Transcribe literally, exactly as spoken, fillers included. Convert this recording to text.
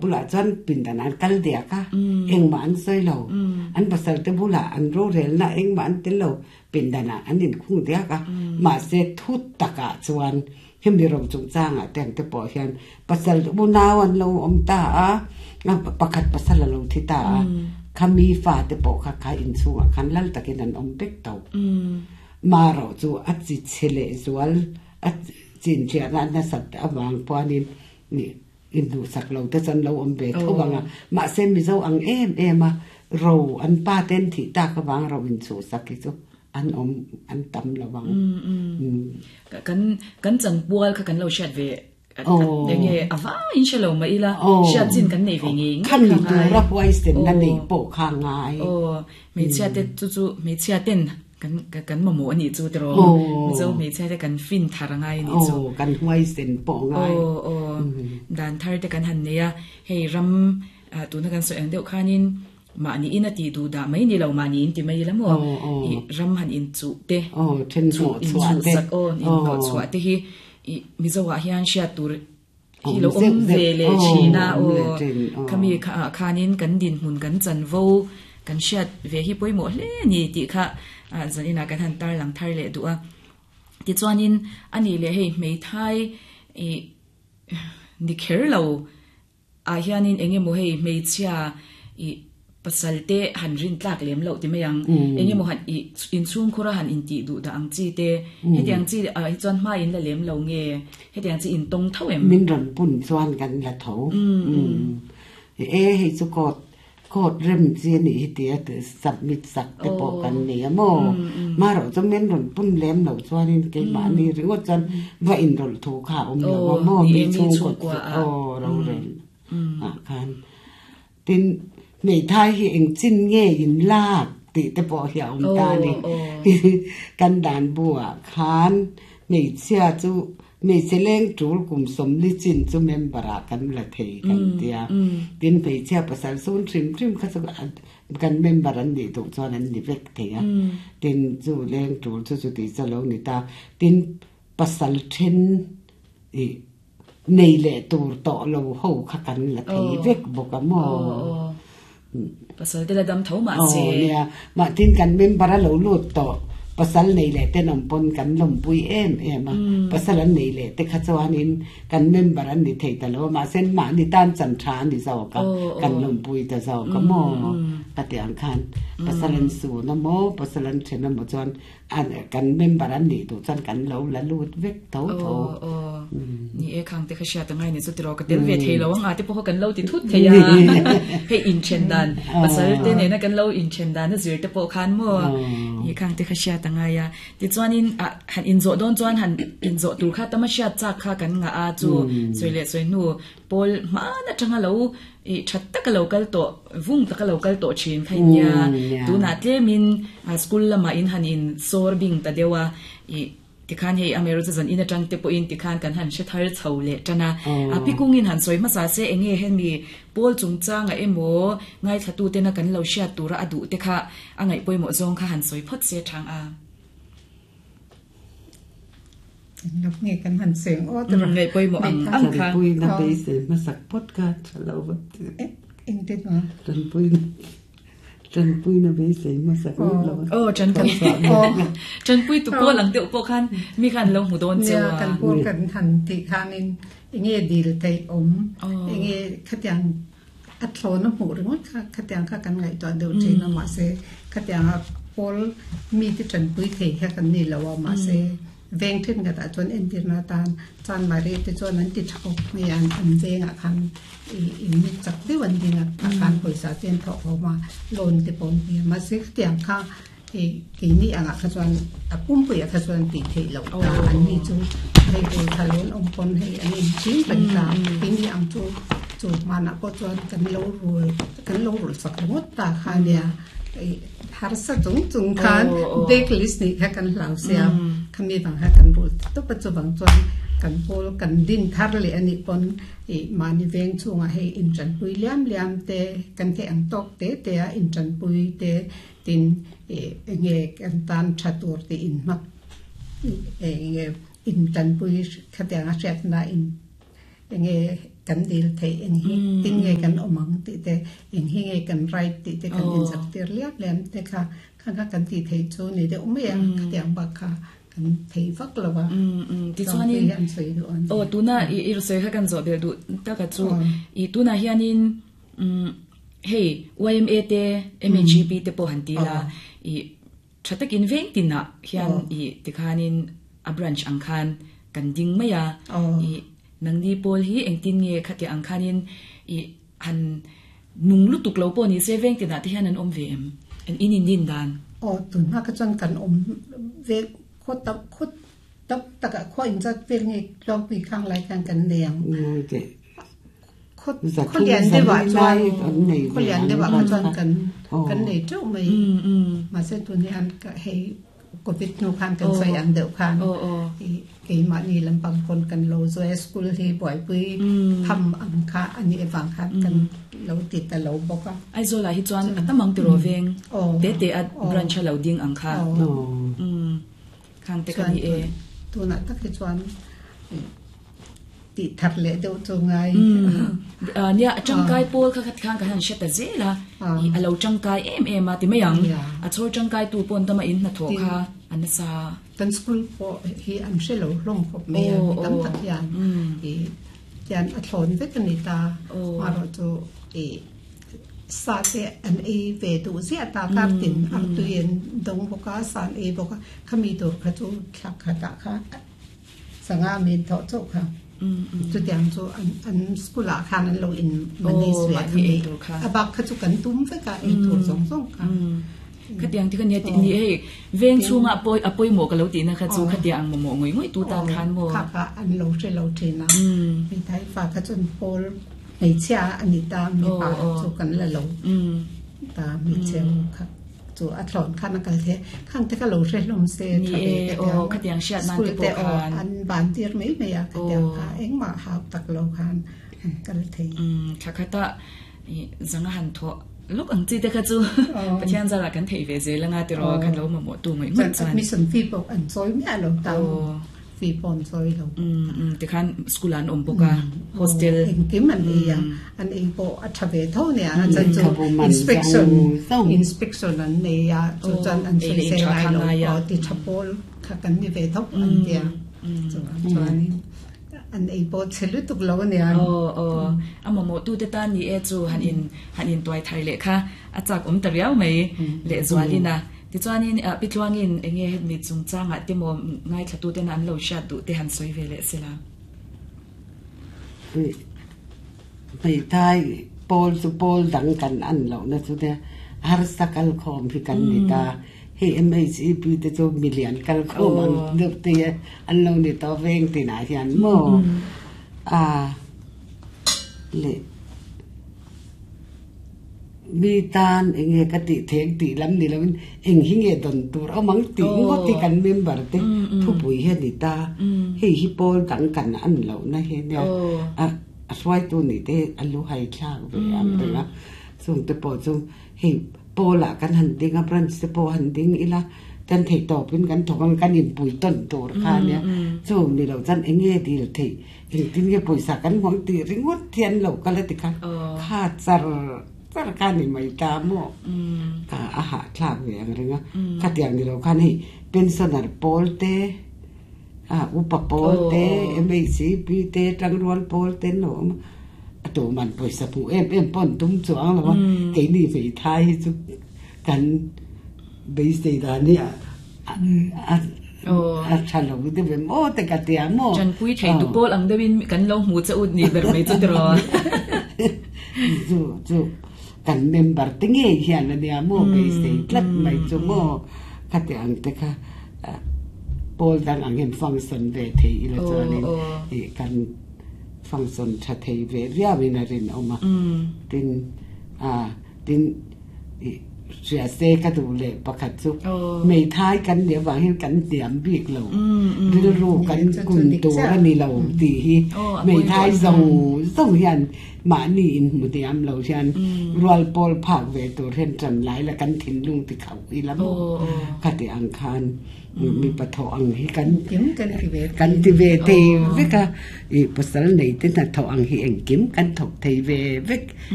Bulah chuan pindan an kal diak a, engmah an sawi lo. An pasal te bulah an rorelna engmah an tel lo, pindanah an inkhung diak a. Mahse thu takah chuan hemi ro chungchangah te ang te pawh hian pasal unau an lo awm ta a, pakhat pasal a lo thi ta a, khami fa te pawh kha kha inchhungah khan lal takin an awm vek tho. Marawh chu a chi chhe leh zual a chinchhiahna a nasat avang pawhin inhnuhsak lo te chuan lo awm ve tho ang a, mahse Mizo ang em em a ro an pa ten thih tak avang ro inchhuhsak hi chu an awm an tam lo ang. Kan kan chanpual kha kan lo hriat ve enge a vaiin hre lo mah ila hriat chin kan nei ve ngei ngei kha ngai. Khami tura huaisenna neih pawh kha ngai. Aw, hmeichhia te chu chu hmeichhia ten kan kan mamawh a nih chu tiraw? Mizo hmeichhia te kan fin thar a ngai a nih chu. Aw, kan huaisen pawh a ngai. Aw, aw. Dan thar te kan han nei a, hei ram tuna kan sawi ang deuh khanin mahni in a tih duh dah mai ni lo, mahni in ti mai ila maw? I ram han inchuh te, inchuhsak aw, inhnawhchhuah te hi i Mizo ah hian hriat tur hi lo awm ve leh thin a, aw, khami ah khanin kan dinhmun kan chanvo kan hriat ve hi pawimawh hle a ni tih kha zaninah kan han tarlang thar leh duh a. Tichuanin a nih leh hei hmeithai i ni kher lo ah hianin eng emaw hei hmeichhia i pasal te han rin tlak lem loh ti mai ang, eng emaw han i inchhungkhur a han intih duh dah ang chi te, hetiang chi ah hi chuan hma in la lem lo nge, hetiang chi intawng tho em? Min rawn pun chuan kan la tho. E hei chu court court rem chi a nih hi tia submit sak te pawh kan nei a maw? Marawh chu min rawn pun lem loh chuanin keimahni ringawt chuan va inrawlh thu kha a awm lo a maw? Mi chhungkaw aw rorel ah khan. Tin, hmeithai hi eng chin nge in lak tih te pawh hi a awm ta a ni. Kan dan buah khan hmeichhia chu hmeichhe leng tul kum sawmli chin chu member ah kan la thei kan tia. Tin, hmeichhia pasal sun hrim hrim kha chu kan member an nih duh chuan an ni vek thei a. Tin, chu leng tul chu chuti chu a lo ni ta. Tin, pasal then i nei leh tur tawh lo ho kha kan la thei vek bawk a maw? Pasal te la dam tho mah se. Aw nia, mah tin kan member a lo lut tawh, pasal nei leh ten awm pawn kan lawmpui em em a, pasal an nei leh te kha chuanin kan member an ni thei ta lo a, mahse mahni tan chan tha a ni zawk a, kan lawmpui ta zawk a maw? Ka ti ang khan pasal an sun a maw, pasal an then a maw chuan kan member an nih duh chuan kan lo la lut vek tho tho. Ni e khang te kha hriat angai ni chu tiraw ka tel ve thei lo ang a te pawh kha kan lo ti thut thei a, hei inthen dan pasal te nena kan lo inthen dan a zir te pawh khan maw ni khang te kha hriat angai a. Tichuanin ah han inzawh dawn chuan han inzawh tur kha tama hriat chak kha kan ngah a chu sawi leh sawi hnu pawl hman atanga lo i that taka lo kal tawh vung taka lo kal tawh thin kha nia tunah tlemin school lamah in han in sawr bing ta deuh a i tikhan hei Ameru chu zan in atang te pawhin tikhan kan han hre thar chho leh tan a a pikungin han sawi hmasa se enge hemi pawl chungchanga emaw ngaithla tu tena kan lo hriat tura a duh te kha a ngaih pawimawh zawng kha han sawi phawt se thang a. Nge kan han seng aw tiraw. Ngaih pawimawh ang ang kha. Tanpuina beisei hmasak phawt kha tha lo va ti. Engtin a? Tanpuina tanpuina beisei hmasak ngawt lo. Aw tanpui tanpui tu pawl ang deuh pawh khan mi khan lo hmu dawn cheu a. Kan pawl kan han tih khanin enge dil theih awm enge khatiang a thlawn a hmuh ringawt kha khatiang kha kan ngaihtuah deuh thin a mahse khatiang a pawl mi te tanpui thei kha kan ni lo a mahse veng then khatah chuan entirna atan chan mari te chuan an ti tha khawp mai a an vengah khan ih in chak deuh an ding a tah khan pawisa te an thawh khawm a loan te pawh an hmu a mahse khatiang kha ih keini angah kha chuan a pumpuiah kha chuan tih theih loh ta an ni chu hei bul tha lo an awm pawn hei an inching reng ta keini ang chu chu hmanah pawh chuan kan lo rul kan lo rul sak ringawt ta kha nia ih harsa chung chung khan blacklist nih kha kan hlau sia khami vang kha kan rul tawp a chuvang chuan kan pawl kan din thar leh a nih pawn ih mahni veng chhungah hei intanpui liam liam te kan theih ang tawk te te a intanpui te tin ih enge kan tan tha tur tih inhmak enge intanpui khatiang a hriatna in enge kan dil thei eng hi tin nge kan omang ti te eng hi nge kan right ti te kan in sak tir liam liam te kha kha kha kan ti thei chu ni de umea khatiang ba kha kan thei vak lawa um um ti chuanin an soi du an o tuna i i soi kha kan zo bel du ta ka chu i tuna hianin um hei Y M A te M H G P te po han ti la i thatakin veng tin na hian i tikhanin a branch ang khan kan ding maya i nangni pol hi engtin nge khati ang khanin i han nung lutuk lo po ni se veng tin na te hian an om ve em an in in din dan o tun na ka chan kan om ve khot tap khot tap taka kho in chat vel nge lok bi khang lai kan kan neng te khot khot lian de wa chuan khot lian de wa ka chuan kan kan nei chau mai ma se tun ni an ka hei covid nu khan kan sai ang deuh khan ke ma ni lampang kon kan lo zo school hi boy pui tham ang kha ani ewang khan kan lo ti ta lo boka ai zo la hi chuan atamang ti ro veng te te a branch lo ding ang kha um khang te kan ni e tu na tak hi chuan ti thar le deuh chu ngai nia changkai pol kha khat khang ka han sheta zela i alo changkai em em a ti meyang a chor changkai tu pon tama in na tho kha anasa tan school po hi an shelo hlong khop me tam tak hian i hian a thlon vek ani ta ma ro chu i sa te an e ve du zia ta kar tin ar tuyen dong boka san e boka khami tur kha chu thak kha ta kha sanga min tho chu kha chu tiang chu an an school a khan an lo in manage ve khami abak kha chu kan tum ve ka e tur zong zong kha khatiang ti kan ni ni hei veng chunga poi apoi mo ka lo ti na kha chu khatiang mo mo ngoi ngoi tu tan khan mo kha kha an lo che lo the na mi thai fa kha chun pol nei cha ani ta mi pa chu kan la lo ta mi cheu kha chu a thlon khan ka the khang te ka lo re lom se tha ve o khatiang siat nan te po khan an ban tir mai mai a khatiang kha eng ma ha tak lo khan kal thei kha kha ta zanga han tho luk ang chi te kha chu pathian zala kan thei ve zel anga ti ro khan lo ma mo tu ngai ngai chuan admission fee pok an choi me lo ta fee pon choi lo um um ti khan school an om boka hostel engkim an ei a an ei po a tha ve tho ne a chan chu inspection inspection an nei a chu chan an sei sei lai lo o ti thapol kha kan ni ve tho an tia chu chuan an ei po chelu tuk lo ne an o o amo mo tu te ta ni e chu han in han in toy thai le kha a chak om ta riau mai le zwalina ti chuanin pitluangin enge het mi chung changa te mo ngai thlatu te an lo sha du te han soi ve le sela mai thai pol chu pol dang kan an lo na chu te har sakal khom hi kan ni ta he M H E P te chu million kal khom an deuh te an lo ni to veng ti na hian mo a le mi tan enge ka ti thek ti lam ni lawin eng hi nge don tur amang ti ngo ti kan member te thu pui he ni ta hei hi pol dang kan an lo na he ne a a swai tu ni te alu hai thlak ve am te la chung te po chung hei pola kan han ding a branch te po han ding ila tan thei to pin kan thokang kan in pui ton tur kha ne chu ni lo chan enge dil thei eng tin nge poisa kan hwang ti ringot thian lo ka le ti kha kha char char ka ni mai ta mo ka a ha thlak ve ang ringa kha tiang ni lo kha ni pensioner pol te a upa pol te M A C P te tangrual pol te no tu man poisa pu em em pon tum chuang lo ke ni ve thai chu kan base da ni a a a chalo de ve mo te ka te amo chan pui thei tu pol ang dewin kan lo mu cha ut ni ber mai chu tro chu chu kan member te nge hian ani amo base tlat mai chu mo ka te ang te kha pol dang ang en function ve thei ila chuanin e kan function tha thei ve ria wina rin oma tin a tin Sia se ka du le pakhat chu mei thai kan ne wang hin kan tiam bik lo ril ru kan kun tu ani lo ti hi mei thai zong zong hian ma ni in mu tiam lo hian rual pol phak ve tur hen tran lai la kan thin lung ti khau i lam kha ti ang khan mi patho ang hi kan kim kan ti ve kan ti ve te veka i pasal nei te na tho ang hi eng kim kan thok thei ve vek.